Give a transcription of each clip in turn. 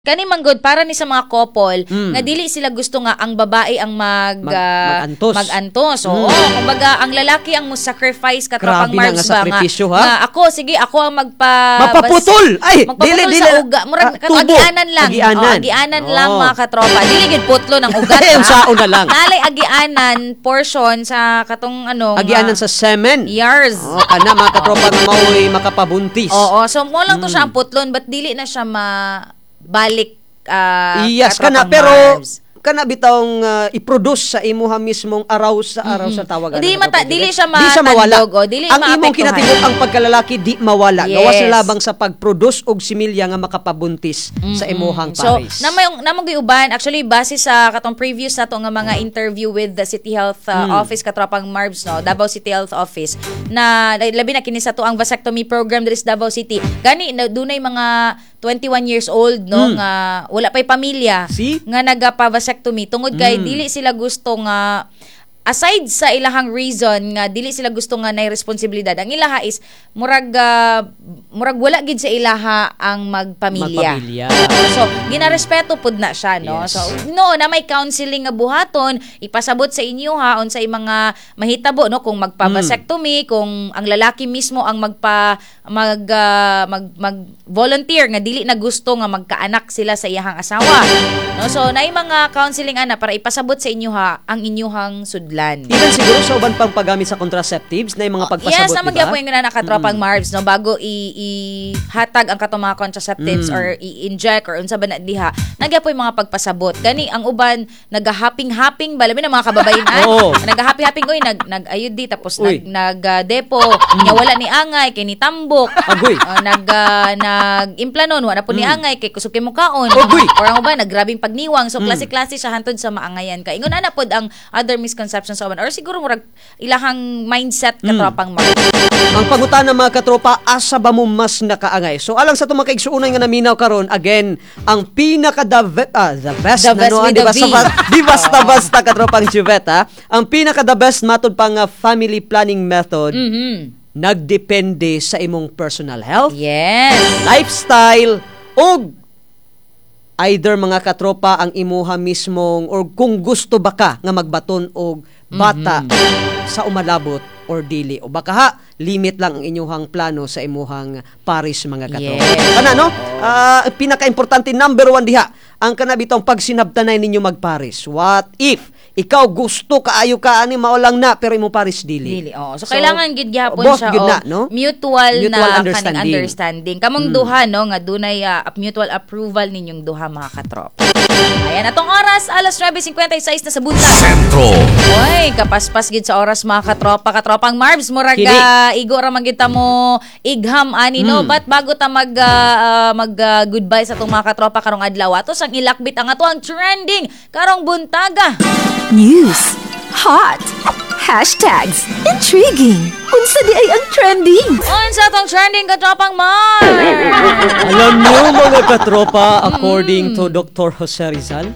Kani man gud para ni sa mga couple nga dili sila gusto nga ang babae ang mag mag-antos. Mag-antos. Oo, kumbaga ang lalaki ang mo sacrifice, katropang Grabe na Marbs nga ba nga, sakripisyo, ha? nga ako, sige, ako ang magpa Mapaputol! Ay, magpaputol dili, sa dili. uga. Murag Ah, tubo. agianan lang. Agianan. Oo, agianan lang, mga katropa. Dili gid putlo ng ugat. Ay, ha? unsaon na lang. Nalay agianan portion sa katong ano nga- Agianan sa semen. Yars. Oh, kana, mga katropa, nga mao'y makapabuntis. Oo, so mo lang to siya ang putlon, but dili na siya mabalik, Iyas kana katropang pero Marbs. Kana bitawng i-produce sa imuha mismong araw sa araw sa tawag. Di ano, mata- katropa, dili Juliet? siya Di siya mawala. matandog, o, dili ang imong maapektuhan. kinatibuk ang pagkalalaki di mawala. Gawas na labang sa pag-produce og similya nga makapabuntis sa imuhang So, pares. Namong giuban actually base sa katong previous nato nga mga interview with the City Health Office, katropang Marbs, no, Davao City Health Office, na labi na kini sa tuang vasectomy program diri sa Davao City. Gani na dunay mga 21 years old, no, nga wala pay pamilya See? nga nagapa-vasectomy tungod kay dili sila gusto nga, aside sa ilahang reason nga dili sila gusto nga nay responsibilidad, ang ilaha is murag wala gid sa ilaha ang magpamilya. Magpamilya. So, ginarespeto pud na siya, no? Yes. So, no, na may counseling nga buhaton, ipasabot sa inyo ha unsay mga mahitabo, no, kung magpa-vasectomy, kung ang lalaki mismo ang magpa mag ah, mag mag volunteer nga dili na gusto nga magkaanak sila sa iyahang asawa. No, so naay mga counseling ana para ipasabot sa inyo ha ang inyuhang sudlan. Even siguro sa uban pang paggamit sa contraceptives na yung mga pagpasabot, Yes, naman di ba? gyapon yung na katropang Marbs, no, bago i-hatag ang katong mga contraceptives or i-inject or unsa ba na diha, nagyapoy mga pagpasabot. Gani ang uban nagahaping-haping ba, labi na mga kababayenan. Nagahappy-happing, oy, nag nag-ayud di tapos Uy. nag nag depo nya wala ni angay kay ni tambok. Agoy. Nag implanon wala po ni angay kay kusog kay mukaon. Agoy. Or ang uban naggrabing pagniwang. So klase-klase siya hantod sa maangayan ka. Ingon ana pod ang other misconceptions sa uban or siguro murag ilahang mindset, katropang Marbs. Ang pangutana, mga katropa, asa ba mo mas nakaangay? So alang sa itong mga kaigsuunay nga naminaw karon, again, ang pinaka the best The na best no, with di the ba V. di basta basta, katropang Juvet, ha? Ang pinaka the best matod pa nga family planning method nagdepende sa imong personal health, lifestyle, ug either, mga katropa, ang imuha mismong or kung gusto ba ka nga magbaton og bata sa umalabot or dili, o baka ha limit lang ang inyuhang plano sa imuhang paris, mga katropa. Kana, no, pinaka-importante, number one diha ang kana bitong pagsinabtanay ninyo magpares. What if ikaw gusto kaayo ka ani, mao lang na, pero imong pares dili? Dili, oo. So, kailangan gid gihapon both siya gyud og na, no? Mutual, Mutual na kaning understanding. Understanding. Kamong duha, no, nga dunay mutual approval ninyong duha, mga katropa. Ayan, atong oras alas 9:56 na sa buntag. Sentro. Oy, kapaspas gid sa oras, mga katropa, katropang Marbs, murag Kini. Igo ra man gid ta mo igham ani, no. But bago ta mag goodbye sa atong mga katropa karong adlaw, ato sang ilakbit ang ato ang trending karong buntaga. News. Hot. Hashtags. Intriguing. Unsa di ay ang trending? Unsa atong trending, katropang Marbs? Alam niyo, mga katropa, according to Dr. Jose Rizal,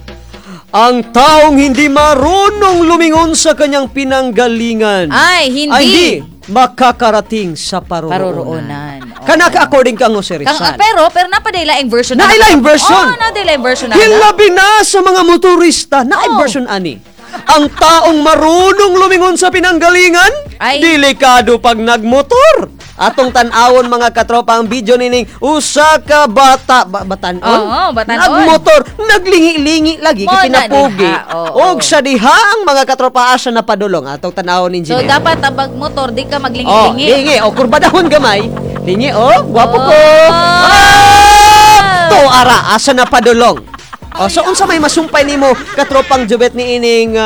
ang taong hindi marunong lumingon sa kanyang pinanggalingan Ay, hindi. ay hindi makakarating sa paroroonan. Paroroonan. Oo. Kanaka according kang Jose Kang, Rizal. pero napaday laing version. Naay laing version. Oh, napaday laing version na. Hilabi na sa mga motorista na Oo. version ani. Ang taong marunong lumingon sa pinanggalingan, Ay. delikado pag nagmotor. Atong tan-awon, mga katropa, ang video nining usa ka bata ba, batanon. Oo, batanon. Nagmotor, naglingi-lingi lagi Mo kay na kinapugi. diha, oo. Og sa diha ang mga katropa asa na padulong. Atong tanawon So engineer. dapat abag motor di ka Oh, maglingi-lingi. lingi. O, kurbadahon gamay. Lingi, oh, gwapo ko. Oh. Ah! To ara asa na padulong. Oh, so unsa may masumpay nimo, katropang Jubet, ni ining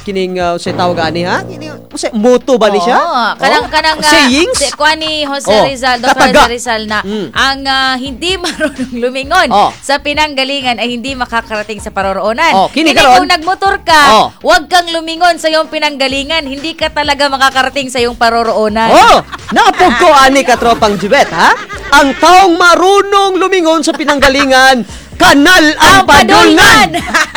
kining unsay tawag ani, ha? Kining unsay moto ba ni siya? Oo, kanang Oh? kanang sayings? Si kuan ni Jose Oh, Rizal, Dr. kataga. Jose Rizal na ang hindi marunong lumingon sa pinanggalingan ay hindi makakarating sa paroroonan. Oh, kini Kini karon. kung nagmotor ka, huwag kang lumingon sa iyong pinanggalingan, hindi ka talaga makakarating sa iyong paroroonan. Oh, naapog ko ani, katropang Jubet, ha? Ang taong marunong lumingon sa pinanggalingan, Kanal ang Ang padulngan! padulngan.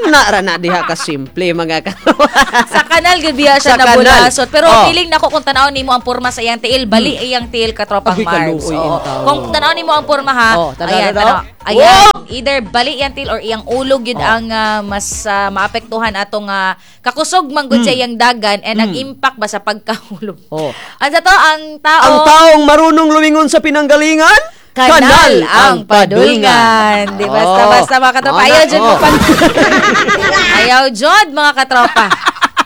Ana ra na diha ka simple, mga katropa. Sa kanal gud biya siya Sa kanal. nabulasot. Pero feeling nako kung tan-awon nimo ang porma sa iyang tiil, bali iyang tiil, katropang Ay, Marbs. kaluoy Oo. intaw. Kung tan-awon nimo ang porma ha, Oh, tanaw ayan, na daw. tanaw. Ayan, either bali iyang tiil or iyang ulog yun ang mas maapektuhan atong kakusog man gud sa iyang dagan and ang impact ba sa pagkahulog. Ang sa to, ang tao Ang taong marunong lumingon sa pinanggalingan, kanal ang padulngan. Di basta basta, mga katropa. Ayaw jud mo Ayaw jud, mga katropa.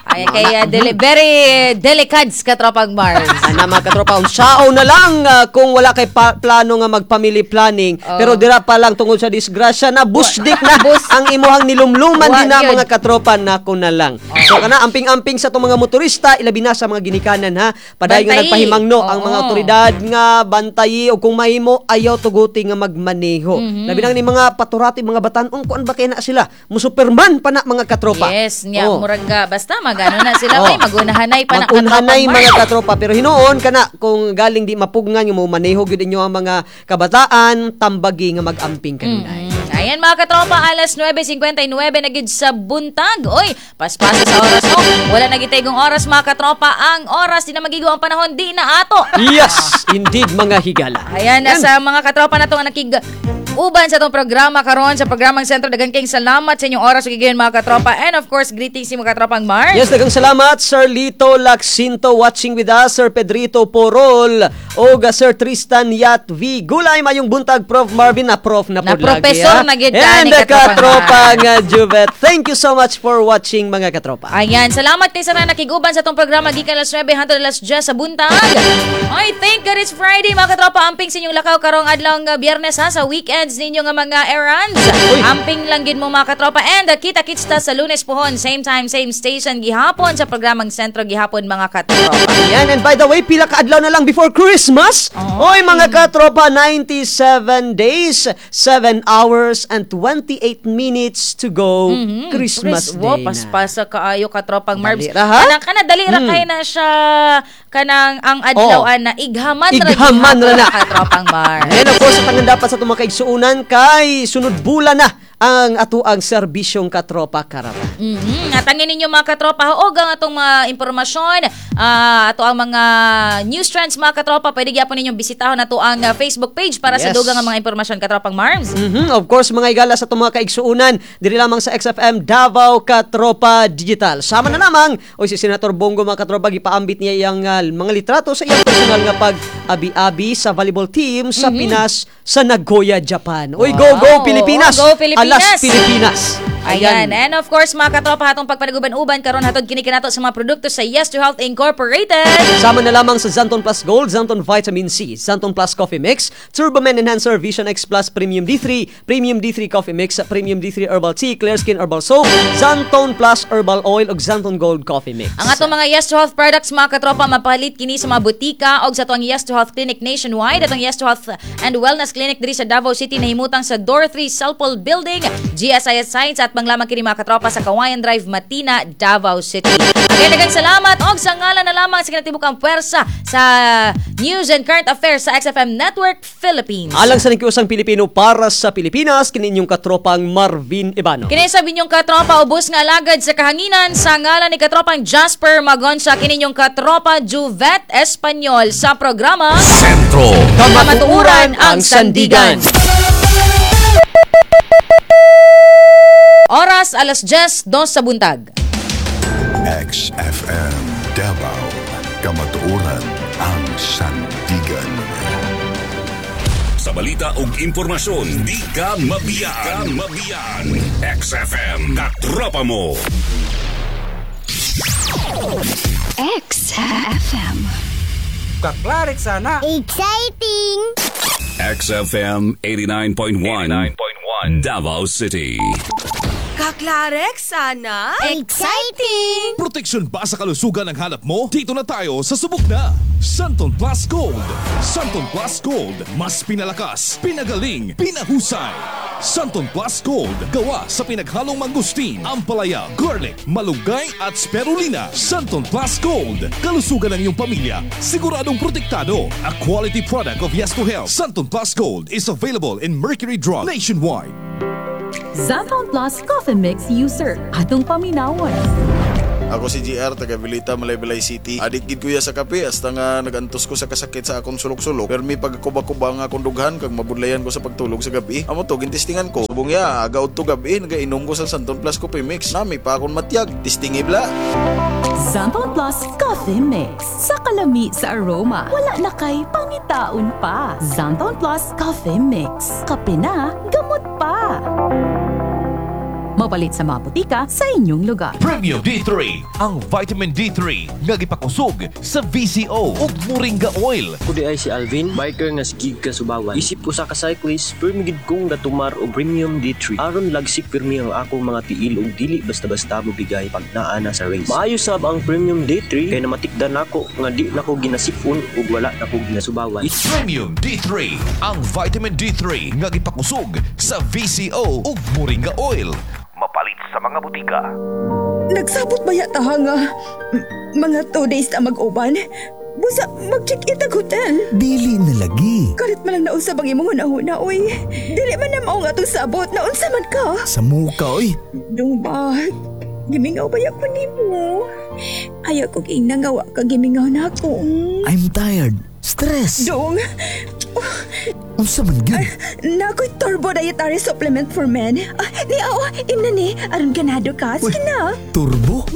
Ay kaya very delicate, katropang Mars. Ana, mga katropa, unsao na lang kung wala kay plano nga mag-family planning, pero dira pa lang tungod sa disgrasya na busdik na ang imuhang nilumluman Wa din na gyud. mga katropa, nako na lang. So kana, amping-amping sa itong mga motorista, ilabi na sa mga ginikanan ha. Padayon nga Bantayi. nagpahimangno ang mga otoridad nga bantayi o kung mahimo ayaw tuguti nga magmaneho. Labi na ni mga paturati, mga batan-ong kuan ba kay na sila? Mo superman pa na, mga katropa. Yes, nya murag ka basta magano na sila may magunahanay pa na, Magunhanay, katropang mga Mars. katropa, pero hinuon kana kung galing di mapugngan yung mo maneho gyud inyo ang mga kabataan, tambagi nga mag-amping kanunay. Ayan, mga katropa, alas 9:59 na gid sa buntag. Oy, paspasa sa oras no. Wala na gid oras, mga katropa. Ang oras di na magigo, ang panahon di na ato. Yes, indeed, mga higala. Ayan, nasa mga katropa na to nga nakig uban sa atong programa karon sa programang Sentro, daghang kayong salamat sa inyong oras ug higayon, mga katropa. And of course, greetings sa mga katropang Mars. Yes, daghang salamat Sir Lito Laxinto watching with us, Sir Pedrito Porol, o Sir Tristan Yat V. Gulay, mayong buntag Prof Marvin na prof na Na pod lagi, professor ha? na gid And ani, the katropang katropang Juvet. Thank you so much for watching, mga katropa. Ayan, salamat kay sa nakiguban sa atong programa gikan alas 9 hangtod alas 10 sa buntag. Ay, thank God it's Friday, mga katropa. Amping sa inyong lakaw karong adlaw nga Biyernes ha, sa weekends ninyo nga mga errands. Amping lang gid mo, mga katropa. And kita-kits ta sa Lunes pohon, same time, same station gihapon sa programang Sentro gihapon, mga katropa. Ayan, and by the way, pila ka adlaw na lang before Christmas? Oy, mga katropa, 97 days, 7 hours and 28 minutes to go. Christmas Chris, Day wow, na. paspasa kaayo, katropang Marbs. Dali ra, ha? Kanang kana dali ra kay na siya kanang ang adlaw na ighaman ra Ighaman ra gihapon, na. katropang Marbs. And of course, ang dapat sa itong mga kaigsuunan kay sunod bulan na ang atuang serbisyong Katropa Caravan. Atangin ninyo, mga katropa, og ang atong mga impormasyon, ato ang mga news trends, mga katropa, pwede gyapon ninyong bisitahon ato ang Facebook page para sa dugang nga mga impormasyon, katropang Marms. Of course, mga igala, sa itong mga kaigsuunan, diri lamang sa XFM Davao Katropa Digital. Sama na lamang, o si Senator Bong Go, mga katropa, gipaambit niya iyang mga litrato sa iyang personal nga pag-abi-abi sa volleyball team sa Pinas sa Nagoya, Japan. Uy, go, go, Pilipinas! Go, Pilipinas! Alas, Pilipinas! Ayan. And of course, mga katropa, hatong pagpanaguban-uban karon hatod kini kanato sa mga produkto sa Yes to Health Incorporated. Sama na lamang sa Xanthone Plus Gold, Xanthone Vitamin C, Xanthone Plus Coffee Mix, Turbo Man Enhancer, Vision X Plus Premium D3, Premium D3 Coffee Mix, Premium D3 Herbal Tea, Clear Skin Herbal Soap, Xanthone Plus Herbal Oil ug Xanthone Gold Coffee Mix. Ang atong mga Yes to Health products, mga katropa, mapalit kini sa mga butika og sa atong Yes to Health Clinic nationwide. Atong Yes to Health and Wellness Clinic diri sa Davao City nahimutang sa Door 3 Salpol Building, GSIS Science at manglamang kini, mga katropa, sa Kawayan Drive, Matina, Davao City. Again, daghang salamat og sa ngalan na lamang sa kinatibukang puwersa sa News and Current Affairs sa XFM Network Philippines. Alang sa nagkiusang Pilipino para sa Pilipinas, kini inyong katropang Marvin Ibano. Kini sa inyong katropa ubos nga alagad sa kahanginan sa ngalan ni katropang Jasper Magonsa, kini inyong katropa Juvet Espanyol sa programa Sentro. Kamatuoran ang Sandigan. Oras alas 10:02 sa buntag. XFM Davao. Kamatuoran ang Sandigan. Sa balita ug impormasyon, di ka mabiyaan. Mabiyaan. XFM, katropa mo. XFM. Kaklarik sana. Exciting! XFM 89.1. 89.1 Davao City. Kaklarek sana. Exciting! Proteksyon ba sa kalusugan ang hanap mo? Dito na tayo sa subok na! Xanthone Plus Gold! Xanthone Plus Gold. Mas pinalakas, pinagaling, pinahusay! Xanthone Plus Gold. Gawa sa pinaghalong mangosteen, ampalaya, garlic, malunggay at spirulina. Xanthone Plus Gold. Kalusugan ng iyong pamilya. Siguradong protektado. A quality product of Yes to Health. Xanthone Plus Gold is available in Mercury Drug nationwide. Xanthone Plus Coffee Mix user. Atong paminawon. Ako si GR, taga Vilita, Malaybalay City. Adik gid kuya sa kape, hasta nga nagantos ko sa kasakit sa akong sulok-sulok. Pero may pagkuba-kuba nga akong dughan, kag mabudlayan ko sa pagtulog sa gabi. Amo to, gintistingan ko. Subong ya, aga udto gabi, nagainom ko sa Xanthone Plus Coffee Mix. Nami pa akong matyag, tistingi bla. Xanthone Plus Coffee Mix. Sa kalami sa aroma, wala na kay pangitaon pa. Xanthone Plus Coffee Mix. Kape na, gamot pa. Mapalit sa mga botika sa inyong lugar. Premium D3, ang vitamin D3 nga gipakusog sa VCO ug Moringa oil. Ako diay si Alvin, biker nga sigig kasubawan. Isip usa ka cyclist, pirmi gid kong gatumar og Premium D3. Aron lagsik pirmi ang akong mga tiil ug dili basta-basta mobigay pag naa na sa race. Maayo sab ang Premium D3 kay namatikdan nako nga di nako ginasipon ug wala nako ginasubawan. Premium D3, ang vitamin D3 nga gipakusog sa VCO ug Moringa oil. Mapalit sa mga butika. Nagsabot ba yata nga mga 2 days na mag-uban? Busa, mag-check-in tag hotel. Dili na lagi. Kalit man lang nausab ang imong hunahuna, oy. Dili man na mao nga atong sabot, naunsa man ka? Sa muka, oy. Dong ba? Gimingaw ba ko nimo? Ayaw ko ingna nga wa ka gimingaw na ako. I'm tired. Stress. Dong, Unsa man gyud? Naa ko'y Turbo Dietary Supplement for Men. Ah, ni, oh, imna ni, aron ganado ka. Sige na. Turbo?